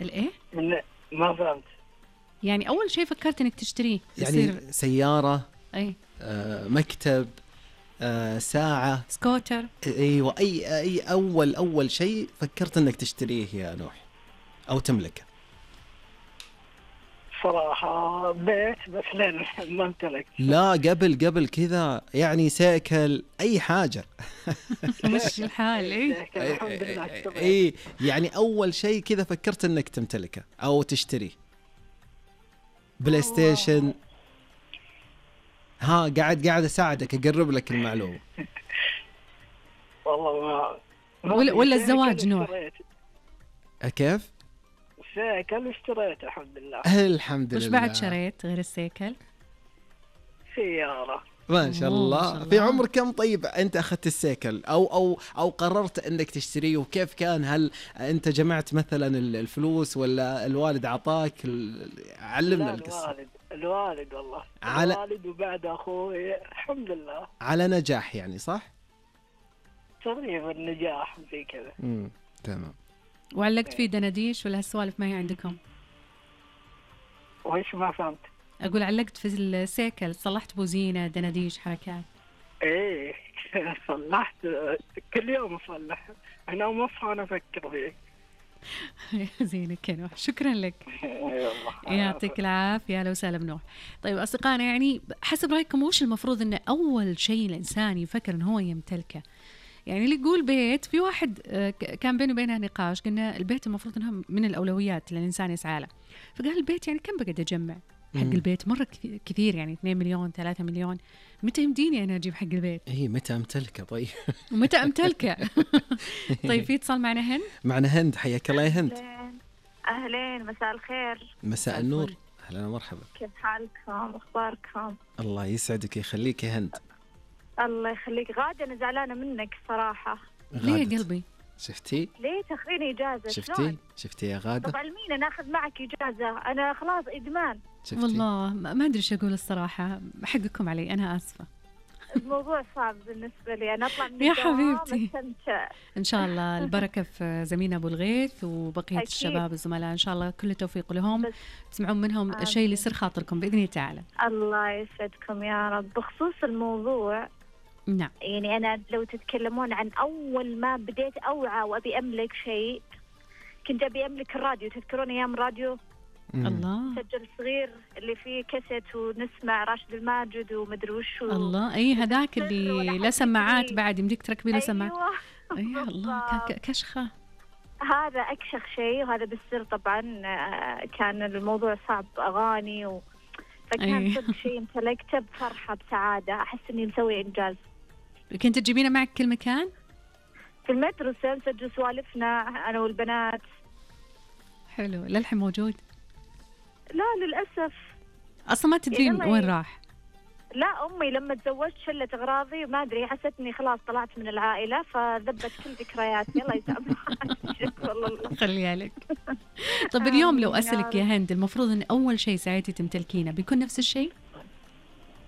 الايه؟ ما فهمت. يعني اول شيء فكرت انك تشتريه يعني سيارة، اي مكتب، ساعة، سكوتر. ايوه، اي اول شيء فكرت انك تشتريه يا نوح او تملكه؟ صراحة بيت، بس لين ما امتلك. لا، قبل كذا يعني سيكل، اي حاجة. مش الحال. الحمد لله. اي يعني اول شيء كذا فكرت انك تمتلكه او تشتريه. بلاي ستيشن. ها، قاعد اساعدك، اقرب لك المعلومة. والله ما ولا الزواج نوح؟ كيف؟ سيكل اشتريت الحمد لله. الحمد لله. وش بعد شريت غير السيكل؟ سيارة. ما شاء الله. في عمر كم طيب أنت أخذت السيكل أو قررت أنك تشتريه؟ وكيف كان؟ هل أنت جمعت مثلا الفلوس ولا الوالد عطاك؟ علمنا القصة. الوالد والله. الوالد وبعد أخوي الحمد لله. على نجاح يعني، صح؟ تقريبا نجاح زي كذا. تمام. وعلقت فيه دناديش ولا هالسوالف ما هي عندكم؟ وإيش ما فهمت؟ أقول علقت في السيكل، صلحت بوزينة، دناديش، حركات. إيه صلحت كل يوم أصلح. أنا ومصحى أنا أفكر فيه. زينك يا نوح، شكرا لك. يعطيك العافية. لو سالم نوح. طيب أصدقائنا، يعني حسب رأيكم وش المفروض أنه أول شيء الإنسان يفكر أنه هو يمتلكه؟ يعني اللي يقول بيت، في واحد كان بينه وبينها نقاش، قلنا البيت المفروض أنها من الأولويات اللي الإنسان يسعى له. فقال البيت يعني كم بقعد أجمع حق البيت؟ مرة كثير، يعني 2 مليون 3 مليون. متى يمديني أنا أجيب حق البيت؟ متى أمتلكه؟ طيب ومتى أمتلكه؟ طيب في اتصال معنا هند. معنا هند، حياك الله يا هند. أهلين، مساء الخير. مساء النور، أهلا ومرحبا. كيف حالكم؟ أخباركم؟ الله يسعدك ويخليك يا هند. الله يخليك. غادة أنا زعلانة منك صراحة. ليه يا قلبي؟ شفتي؟ ليه تاخذيني إجازة؟ شفتي يا غادة؟ طب علمينا ناخذ معك إجازة، أنا خلاص إدمان. والله ما أدري شو أقول الصراحة، حقكم علي، أنا آسفة. الموضوع صعب بالنسبة لي، أنا أطلع من يا الدوام حبيبتي أستمتع. إن شاء الله البركة في زميلنا أبو الغيث وبقية أكيد. الشباب الزملاء، إن شاء الله كل التوفيق لهم، تسمعون منهم الشيء اللي يصير خاطركم بإذن الله تعالى. الله يسعدكم يا رب. بخصوص الموضوع، نعم، يعني أنا لو تتكلمون عن أول ما بديت أوعى وأبي أملك شيء، كنت أبي أملك الراديو. تذكرون أيام راديو؟ الله، سجل صغير اللي فيه كاسيت ونسمع راشد الماجد ومدري وش. الله، أي هذاك اللي لا سماعات بعد، يمديك تركبي له سماعات. أيوة. أي الله، كشخة. هذا أكشخ شيء، وهذا بالسر طبعا. كان الموضوع صعب، أغاني فكان صدق شيء امتلكته بفرحة بسعادة، أحس إني مسوي إنجاز. كنت تجيبينه معك كل مكان؟ في المدرسة نسجل سوالفنا أنا والبنات. حلو. للحين موجود؟ لا للأسف. أصلا ما تدرين وين راح؟ لا، أمي لما تزوجت شلت أغراضي، ما أدري، حستني خلاص طلعت من العائلة فذبت كل ذكرياتي. الله يسامحك. والله خليها لك. طب اليوم لو أسألك يا هند، المفروض أن أول شيء ساعتي تمتلكينه بيكون نفس الشيء؟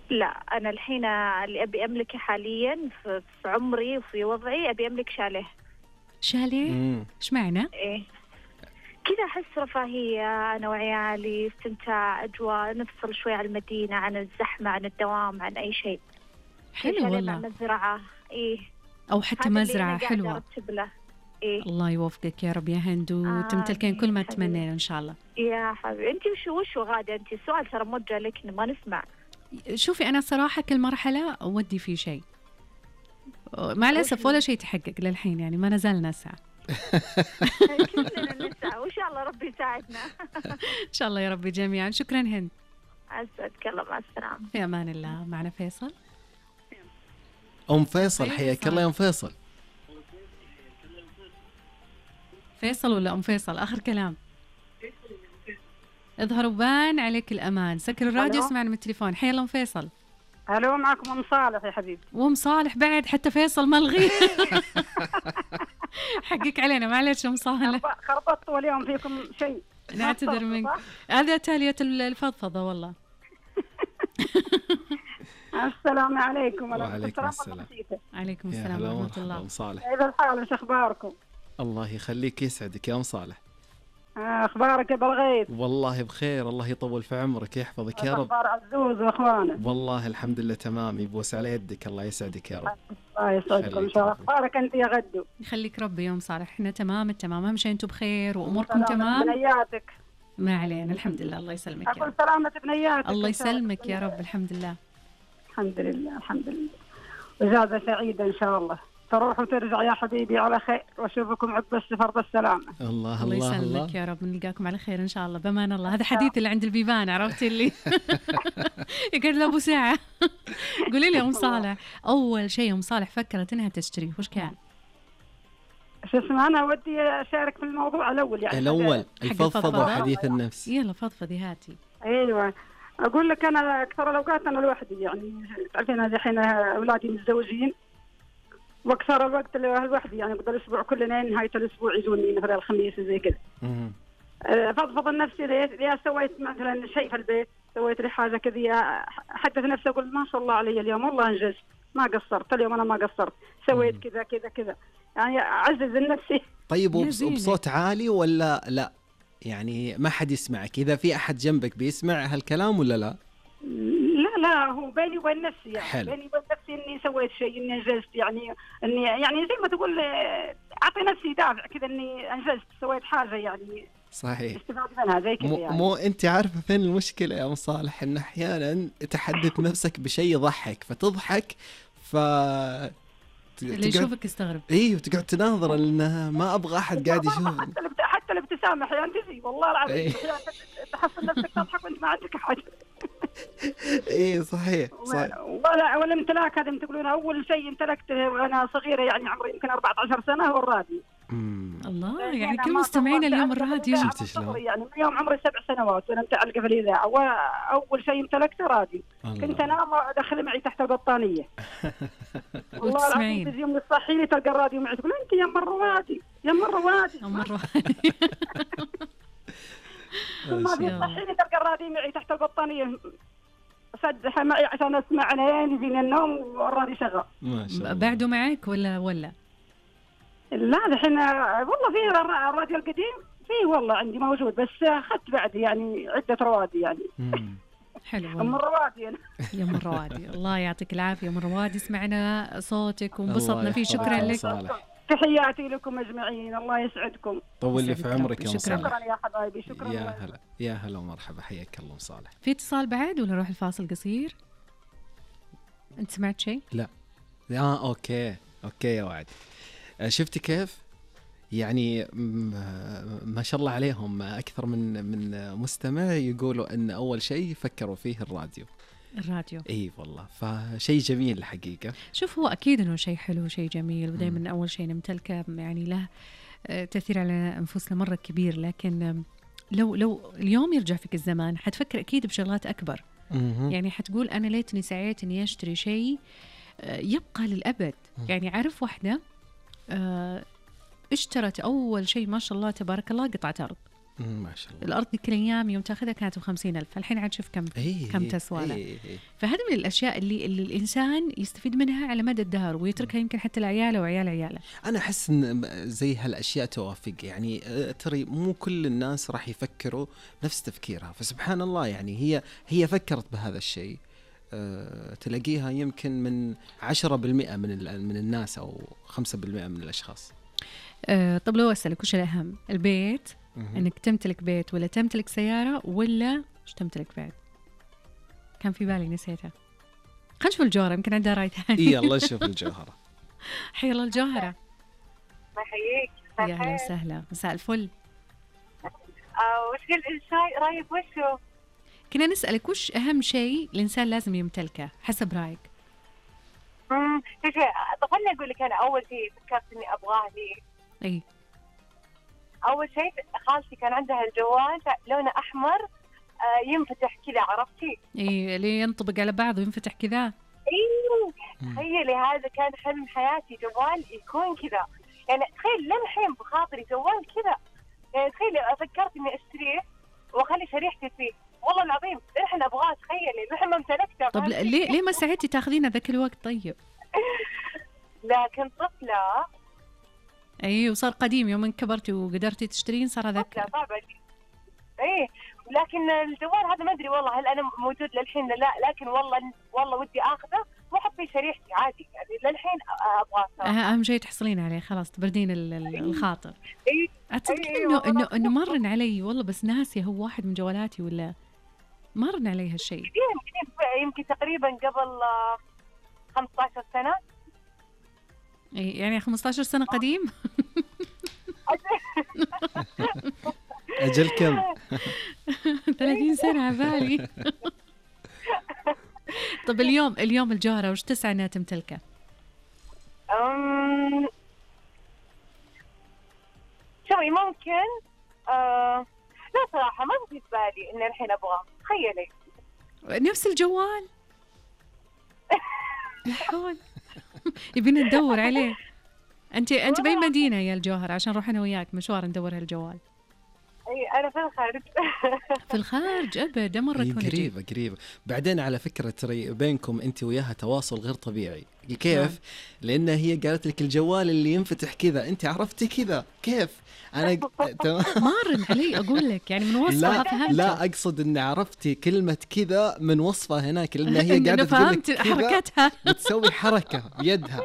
لا، أنا الحين اللي أبي أملكه حاليا في عمري وفي وضعي، أبي أملك شاليه. شاليه؟ إيش معنى؟ إيه كذا، أحس رفاهية أنا وعيالي، استمتاع، أجواء، نفصل شوي عن المدينة، عن الزحمة، عن الدوام، عن أي شيء. حلو والله. مع مزرعة. إيه، أو حتى مزرعة حلوة. إيه؟ الله يوفقك يا رب يا هند، وتمتلكين كل ما تتمنين إن شاء الله. يا حبيبي. أنت وش غادة؟ أنت السؤال ترى موجه لك، ما نسمع. شوفي أنا صراحة كل مرحلة أودي فيه شيء، مع الأسف ولا شيء تحقق للحين، يعني ما نزال نسعى. كلنا نسعى، وإن شاء الله ربي يساعدنا. إن شاء الله يا ربي جميعا. شكرا هند. أسعدك الله، مع السلامة. في أمان الله. معنا فيصل. أم فيصل، حياك الله يا أم فيصل. فيصل ولا أم فيصل؟ آخر كلام. اظهر وبان عليك الأمان. سكر الراديو، اسمعنا من التليفون. حيا الله أم فيصل. ألو، معكم أم صالح يا حبيبي. وأم صالح بعد، حتى فيصل ملغي. حقك علينا، معلش أم صالح. خربطتوا اليوم فيكم شيء. نعتذر منك، هذا تالية الفضفضة والله. السلام عليكم. وعليكم السلام. عليكم السلام ورحمة الله. أم صالح، كيف الحال؟ وش أخباركم؟ الله يخليك، يسعدك يا أم صالح. اخبارك يا بالغيث؟ والله بخير، الله يطول في عمرك، يحفظك يا رب. اخبار عزوز واخوانه؟ والله الحمد لله تمام، يبوس على يدك، الله يسعدك يا رب. الله يسعدكم ان شاء الله. اخبارك انت يا غدو؟ يخليك ربي يوم صالح، احنا تمام التمام، اهم شيء انتم بخير واموركم تمام. بنياتك ما علينا الحمد لله، الله يسلمك يا اقول رب. سلامة بنياتك. الله يسلمك يا رب، الحمد لله. الحمد لله الحمد لله. اجازة سعيدة ان شاء الله، تروح وترجع يا حبيبي على خير، واشوفكم عقب السفر بالسلامة. الله الله الله يسلمك الله. يا رب، نلقاكم على خير ان شاء الله بامان الله. هذا حديث اللي عند البيبان، عرفت اللي يقعد له ابو ساعه. قولي لي ام صالح، اول شيء ام صالح فكرت انها تشتريه وش كان؟ شو اسمه، انا ودي اشارك في الموضوع الاول يعني. الاول حق الفضفضه الفضفضة. وحديث النفس. يلا فضفضي هاتي. ايوه اقول لك، انا اكثر الاوقات انا لوحدي يعني، تعرفين انا الحين اولادي متزوجين، واكثر الوقت لوحدي يعني، بقدر الاسبوع كلنا نهايه الاسبوع يجوني مثلا الخميس زي كذا. فضفض النفسي ليه سويت مثلا شيء في البيت، سويت لي حاجه كذا، احدث نفسي اقول ما شاء الله علي اليوم والله انجزت، ما قصرت اليوم، انا ما قصرت، سويت كذا كذا كذا يعني، اعزز النفسي. طيب وبصوت عالي ولا لا؟ يعني ما حد يسمعك؟ اذا في احد جنبك بيسمع هالكلام ولا لا؟ لا هو بيني وبين نفسي يعني. حلو. بيني وبين نفسي اني سويت شيء، اني انجزت يعني، اني يعني زي ما تقول اعطي نفسي دافع كذا اني انجزت، سويت حاجه يعني صحيح. استفاد منها زي كذا يعني. مو انت عارفه فين المشكله يا ام صالح؟ ان احيانا تحدث نفسك بشيء يضحك فتضحك، اللي يشوفك يستغرب. ايوه تقعد تناظر انه ما ابغى احد قاعد يشوف. حتى الابتسامه احيانا تجي والله العظيم، تحصل نفسك تضحك وانت ما عندك احد. ايه صحيح صحيح. والامتلاك هذا تقولون اول شيء امتلكته وانا صغيره يعني، عمري يمكن 14 سنه هو الراديو. الله، يعني كل مستمعينا اليوم الراديو. شفت شلون؟ يعني من يوم عمري 7 سنوات وانا متعلقه في الاذاعه، واول شيء امتلكته راديو. كنت انام وادخل معي تحت البطانيه. والله العظيم تجي يوم تصحي لي تلقى الراديو معي، تقول انت يا ام الروادي يا ام الروادي. ام الروادي. ما بيصحيني تلقى الراديو معي تحت البطانيه، صدح معي عشان اسمع عيني فين النوم والراديو شغال. ما شاء الله. بعده معك ولا؟ لا الحين والله في الراديو القديم فيه والله عندي موجود، بس اخذت بعد يعني عده روادي يعني. حلو ام الروادي انا. يا ام الروادي، الله يعطيك العافيه يا ام الروادي، سمعنا صوتك وانبسطنا فيه، شكرا لك. تحياتي لكم اجمعين، الله يسعدكم. طول لي في عمرك يا ام صالح. شكرا يا حبايبي، شكرا. يا هلا يا هلا ومرحبا، حياك الله ام صالح. في اتصال بعد ولا نروح الفاصل قصير؟ انت سمعت شيء؟ لا اوكي يا وعد. شفتي كيف يعني ما شاء الله عليهم، اكثر من مستمع يقولوا ان اول شيء فكروا فيه الراديو. اي والله، فشيء جميل الحقيقه. شوف هو اكيد انه شيء حلو شيء جميل، ودائما اول شيء نمتلكه يعني له تاثير على انفسنا مره كبير، لكن لو اليوم يرجع فيك الزمان حتفكر اكيد بشغلات اكبر. يعني حتقول انا ليتني سعيت اني اشتري شيء يبقى للابد. يعني عارف واحده اشترت اول شيء ما شاء الله تبارك الله قطعة أرض. ما شاء الله. الأرض كل أيام يوم تاخذها كانت ب50,000، الحين عاد شوف كم تسوى لها. فهذا من الأشياء اللي الإنسان يستفيد منها على مدى الدهر ويتركها يمكن حتى لعياله وعيال عياله. أنا أحس إن زي هالأشياء توافق يعني، ترى مو كل الناس راح يفكروا نفس تفكيرها، فسبحان الله يعني هي فكرت بهذا الشيء. تلاقيها يمكن من 10% من الناس أو 5% من الأشخاص. طب لو أسألك وش الأهم، البيت انك تمتلك بيت ولا تمتلك سيارة ولا ايش تمتلك بعد؟ كان في بالي نسيتها. خلينا نشوف الجوهرة يمكن عندها راي ثاني. يلا نشوف الجوهرة. حي الله الجوهرة. يحييك. يا اهلا وسهلا، مساء الفل. وش قلت الشاي رايك وشو؟ كنا نسألك وش أهم شيء الإنسان لازم يمتلكه حسب رأيك؟ خلني أقول لك، أنا أول شيء فكرت إني أبغاه لي. أي. أول شيء خالتي كان عندها الجوال لونه أحمر ينفتح كذا، عرفتي؟ إيه اللي ينطبق على بعض وينفتح كذا. إيه تخيلي، هذا كان حلم حياتي، جوال يكون كذا. يعني تخيل لمحين بخاطري جوال كذا، يعني تخيلي فكرت إني أشتريه وأخلي شريحتي فيه، والله العظيم إحنا أبغاه، تخيلي نحن ما امتلكته. طب ليه ما ساعدتي تاخذينه ذاك الوقت؟ طيب لكن طفلة اي وصار قديم يوم كبرتي وقدرتي تشترين صار هذاك. صعب ايه. لكن الجوال هذا ما ادري والله هل انا موجود للحين لا، لكن والله ودي اخذه واحط فيه شريحتي عادي يعني للحين ابغاه. اهم شيء تحصلين عليه خلاص تبردين الخاطر. اي اتصدقين انه مرن علي والله، بس ناسيه هو واحد من جوالاتي ولا مرن علي هالشيء. يمكن تقريبا قبل 15 سنه. يعني 15 سنه قديم. أجل كم؟ 30 سنة عبالي. طب اليوم الجوهرة وش تسعى انها تمتلكه؟ شوي ممكن لا صراحة ما في بالي ان الحين ابغاه. تخيلي نفس الجوال. الحول يبينا ندور عليه. انت باي مدينة يا الجوهرة عشان نروح انا وياك مشوار ندور هالجوال؟ اي انا في الخارج. في الخارج ابدا مرة تكون قريبة. بعدين على فكرة ترى بينكم انت وياها تواصل غير طبيعي. كيف؟ لان هي قالت لك الجوال اللي ينفتح كذا، انت عرفتي كذا كيف؟ انا مارن علي اقول لك يعني من وصفها فهمت. لا اقصد ان عرفتي كلمة كذا من وصفها هناك، لان هي قاعدة تقول لك حركتها بتسوي حركة بيدها،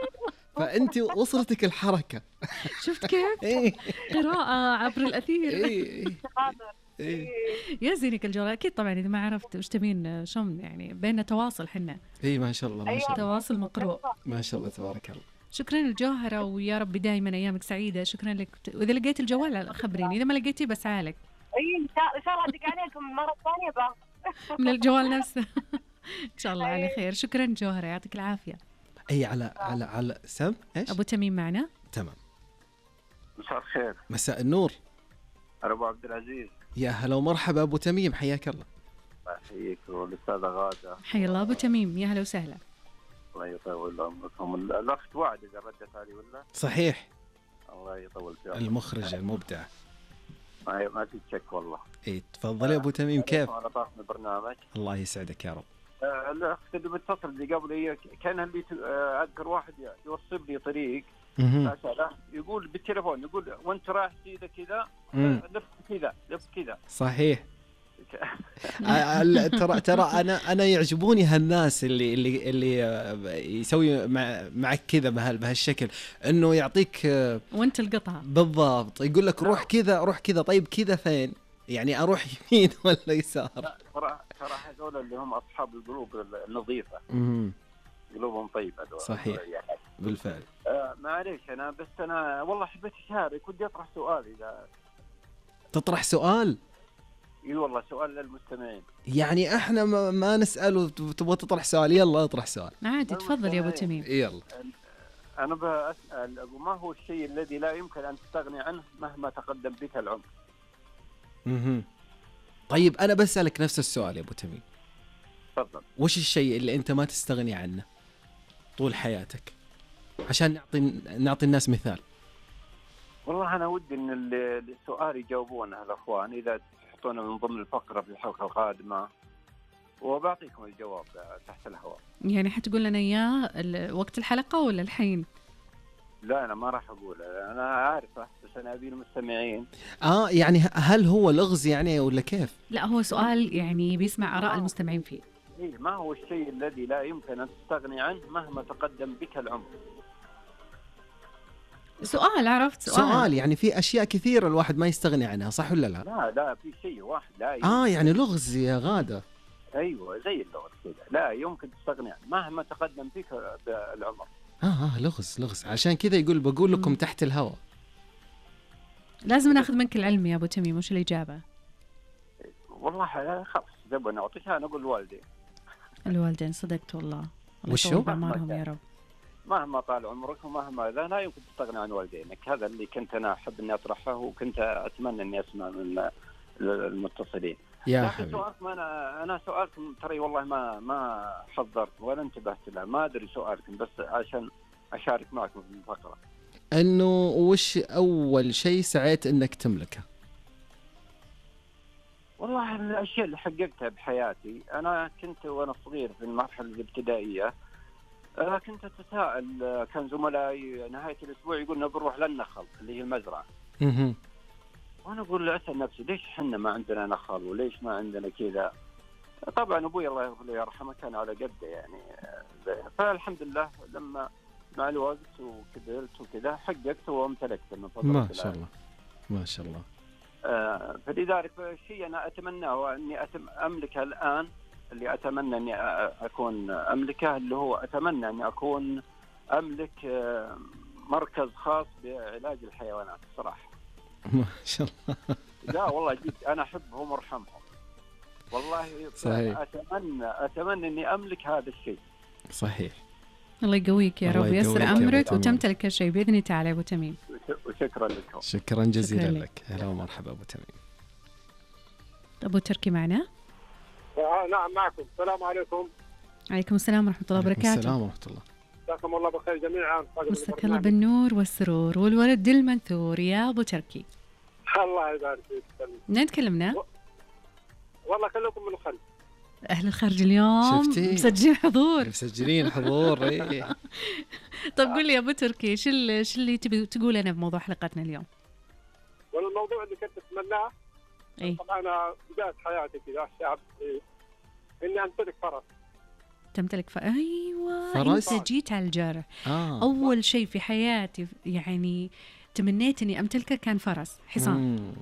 فأنت وصلتك الحركة. شفت كيف؟ قراءة عبر الأثير. يا زينك الجوال أكيد طبعا. إذا ما عرفت وش تبين شلون يعني بيننا تواصل حنا. ما شاء الله ما شاء الله. تواصل مقروء ما شاء الله تبارك الله. شكرا الجوهرة ويا رب دائما أيامك سعيدة. شكرا لك. وإذا لقيت الجوال خبريني، إذا ما لقيتي بس عالك. إن شاء الله أدق عليكم مرة ثانية بقى. من الجوال نفسه. إن شاء الله على خير. شكرا جوهرة يعطيك العافية. أي على سم إيش؟ أبو تميم معنا. تمام. مساء الخير. مساء النور. أبو عبد العزيز. يا هلا ومرحبا أبو تميم، حياك الله. الله يحييك. والأستاذة غادة. حيا الله أبو تميم، يا هلا وسهلا. الله يطول عمركم. الأخت وعد إذا ردت علي ولا؟ صحيح. الله يطول في عمرك. المخرج المبدع. ما في شك والله. تفضل يا أبو تميم. كيف؟ أنا طاقم البرنامج. الله يسعدك يا رب. الأخت اللي بتصل اللي قبل هي كان اللي أذكر واحد يوصف لي طريق يقول بالتليفون، يقول وانت رايح كذا لف كذا. صحيح. ترى انا يعجبوني هالناس اللي يسوي معك كذا بهالشكل، انه يعطيك وانت القطعه بالضبط، يقول لك روح كذا. طيب كذا فين؟ يعني اروح يمين ولا يسار؟ صراحه هذول اللي هم اصحاب القلوب النظيفه. قلوبهم طيبه. صحيح بالفعل. معليش انا والله حبيت اشارك، ودي اطرح سؤال. اذا تطرح سؤال؟ اي والله سؤال للمستمعين. يعني احنا ما نسال وتبغى تطرح سؤال؟ يلا اطرح سؤال عادي. تفضل يا ابو تميم. يلا. انا بسال ما هو الشيء الذي لا يمكن ان تستغني عنه مهما تقدم بك العمر؟ طيب انا بسالك نفس السؤال يا ابو تميم. تفضل. وش الشيء اللي انت ما تستغني عنه طول حياتك، عشان نعطي الناس مثال؟ والله انا ودي ان السؤال يجاوبونه الاخوان، اذا تحطونه من ضمن الفقره في الحلقه القادمه، وبعطيكم الجواب تحت الهواء. يعني حتقول لنا اياه وقت الحلقه ولا الحين؟ لا انا ما راح اقول، انا عارفه بس انا ابي المستمعين. يعني هل هو لغز يعني ولا كيف؟ لا هو سؤال يعني بيسمع اراء المستمعين فيه. ما هو الشيء الذي لا يمكن ان تستغني عنه مهما تقدم بك العمر؟ سؤال، عرفت؟ سؤال يعني في اشياء كثيره الواحد ما يستغني عنها، صح ولا لا؟ لا في شيء واحد لا يمكن. يعني لغز يا غاده. ايوه زي اللغز كذا، لا يمكن تستغني عنه مهما تقدم بك العمر. لغز عشان كذا بقول لكم تحت الهواء. لازم ناخذ منك العلم يا ابو تميم. وش الاجابه؟ والله خلاص زبنا نعطيها، نقول الوالدين. صدقت والله. وشو؟ الله بعمرهم يا رب. مهما طال عمرك ومهما لا يمكن تستغني عن والدينك. هذا اللي كنت انا احب اني اطرحه، وكنت اتمنى اني اسمع من المتصلين. يا حبيبي انا سؤالكم ترى والله ما حضرت ولا انتبهت له، ما ادري سؤالكم بس عشان اشارك معكم في الفقره. انه وش اول شيء سعيت انك تملكه؟ والله الاشياء اللي حققتها بحياتي، انا كنت وانا صغير في المرحله الابتدائيه كنت أتساءل، كان زملائي نهاية الأسبوع يقولنا بنروح للنخل اللي هي المزرعة. وأنا أقول أسأل نفسي ليش حنا ما عندنا نخل وليش ما عندنا كذا. طبعا أبوي الله يرحمه كان على قده يعني، فالحمد لله لما مع الوقت وكبرت وكذا حققت وامتلكت من فضل الله. ما شاء الله ما شاء الله. فلذلك الشيء أنا أتمناه أني أملكه الآن، اللي أتمنى أني أكون أملكه اللي هو أتمنى أني أكون أملك مركز خاص بعلاج الحيوانات الصراحة. ما شاء الله. لا والله جد أنا أحبهم وارحمهم والله. صحيح. أتمنى أني أملك هذا الشيء. صحيح. الله يقويك يا رب ويسر أمرك وتمتلك الشيء بإذن الله تعالى أبو تميم. وشكرا لكم. شكرا جزيلا لك. هلا ومرحبا أبو تميم. أبو تركي معنا؟ نعم معكم. السلام عليكم. عليكم السلام ورحمة الله وبركاته. السلام ورحمة الله. مساكم الله بخير جميعا. مساك الله بالنور والسرور والورد المنثور يا أبو تركي. الله يبارك فيك. منين تكلمنا؟ والله كلكم من الخلف. أهل الخارج اليوم مسجلين حضور. مسجلين حضور. إيه. طيب قل لي يا أبو تركي شو اللي تبي تقول أنا بموضوع حلقتنا اليوم؟ والموضوع اللي كنت أتمناه طبعا أنا بداية حياتي كذا الشعب إني أمتلك فرس. تمتلك أيوة فرس؟ أنت جيت على الجرح. أول شيء في حياتي يعني تمنيت إني أمتلكه كان فرس حصان.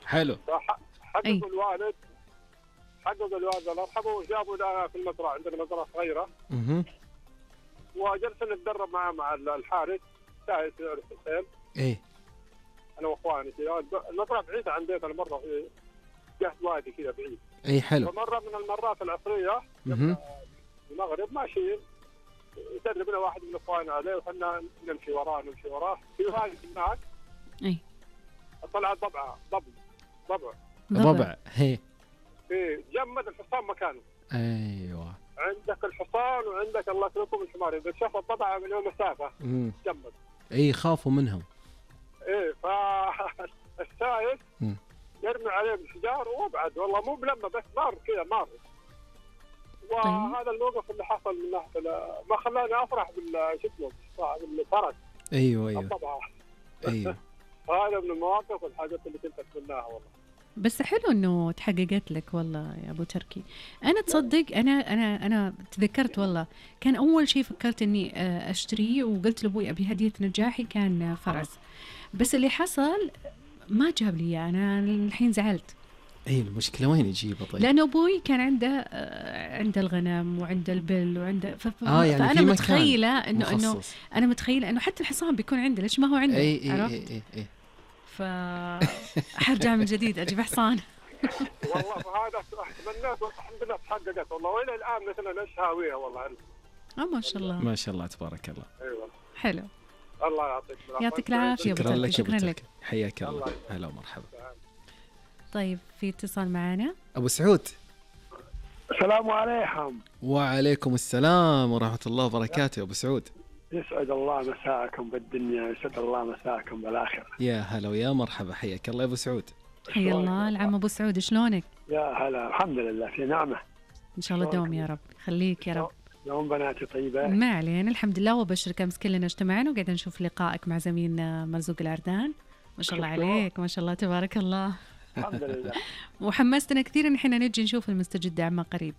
حلو. حقق الوالد الله يرحمه وجابوا لنا في المزرعة، عندنا مزرعة صغيرة. وجلسنا نتدرب مع الحارس سايس الحسين. إيه. أنا وأخواني كذا. المزرعة بعيدة عن بيتنا مرة في جهة وادي كذا بعيد. إيه حلو. فمرة من المرات العصرية المغرب ماشيين يدربنا واحد من اخواننا عليه وحنا نمشي وراه في وادي هناك. اي طلعت ضبع. هي جمد الحصان مكانه. ايوه. عندك الحصان وعندك الله يسلمكم الحمار، اذا شاف الضبع من مسافه جمد. اي خافوا منهم. ايه فالسائل يرمي عليه بالحجار وابعد والله مو بلمه بس مار كذا مار. وهذا الموقف اللي حصل من ناحيه ما خلاني افرح بالفرس. ايوه طبعا. ايوه. هذا من المواقف والحاجات اللي كنت اتمناها والله. بس حلو انه تحققت لك والله يا ابو تركي. انا تصدق انا تذكرت والله كان اول شيء فكرت اني اشتريه وقلت لابوي ابي هديه نجاحي كان فرس، بس اللي حصل ما جاب لي انا الحين زعلت. اي المشكله وين يجيبه طيب؟ لانه ابوي كان عنده الغنم وعنده البل وعنده يعني فانا متخيله انه انا متخيله انه حتى الحصان بيكون عنده، ليش ما هو عنده؟ عرفت؟ اي حرجع من جديد اجيب حصان. والله فهذا اتمنيت والحمد لله تحققت والله، والى الان مثلا ايش هاويها والله. ما شاء الله ما شاء الله تبارك الله. ايوه حلو. الله يعطيك العافيه. شكرا لك حياك الله. هلا ومرحبا. طيب في اتصال معنا ابو سعود. السلام عليكم. وعليكم السلام ورحمه الله وبركاته. ابو سعود يسعد الله مساءكم بالدنيا، يسعد الله مساءكم بالاخره. يا هلا ويا مرحبا، حياك الله يا ابو سعود. حيا الله العم ابو سعود، شلونك؟ يا هلا الحمد لله في نعمه ان شاء الله دوم يا رب. خليك يا رب. يوم بناتي طيبه؟ ما علينا الحمد لله. وبشرك امس كلنا اجتمعنا وقاعدين نشوف لقائك مع زميلنا مرزوق العردان. ما شاء الله عليك، ما شاء الله تبارك الله. الحمد لله. وحمستنا كثير ان احنا نجي نشوف المستجد عما قريب.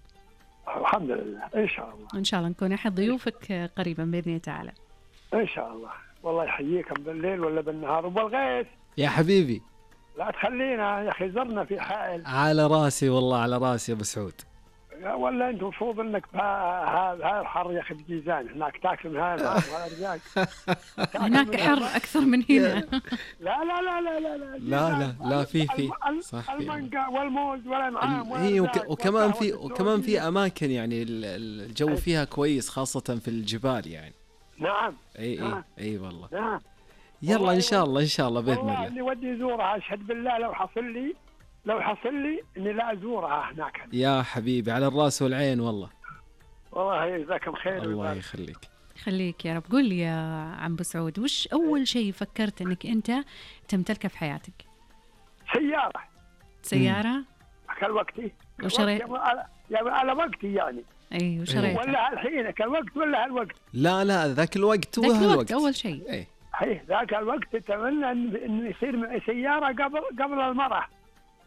الحمد لله ان شاء الله. ان شاء الله نكون احد ضيوفك قريبا باذن الله تعالى. ان شاء الله. والله يحييكم بالليل ولا بالنهار وبالغيث يا حبيبي. لا تخلينا يا اخي، زرنا في حائل. على راسي والله على راسي يا ابو سعود. ولا انت المفروض انك هاي الحر يا اخي بجيزان هناك تاكل من هاي الارجاق. هناك حر اكثر من هنا. لا لا لا لا لا لا لا في صح المانجا والموز والانعام. وكمان في اماكن يعني الجو فيها كويس خاصة في الجبال يعني. نعم. اي والله. نعم. يلا ان شاء الله باذن الله. والله اني ودي ازورها، اشهد بالله لو حصل لي اني لا ازورها هناك. يا حبيبي على الراس والعين والله. والله يجزاكم خير. الله يخليك. خليك يا رب. قول لي يا عم ابو سعود، وش اول شيء فكرت انك انت تمتلكه في حياتك؟ سيارة. كل وقتي. على وقتي يعني. اي وشريته ولا الحين الوقت ولا هالوقت؟ لا ذاك الوقت ذاك الوقت اول شيء. اي ذاك الوقت تتمنى انه يصير سياره قبل المراه.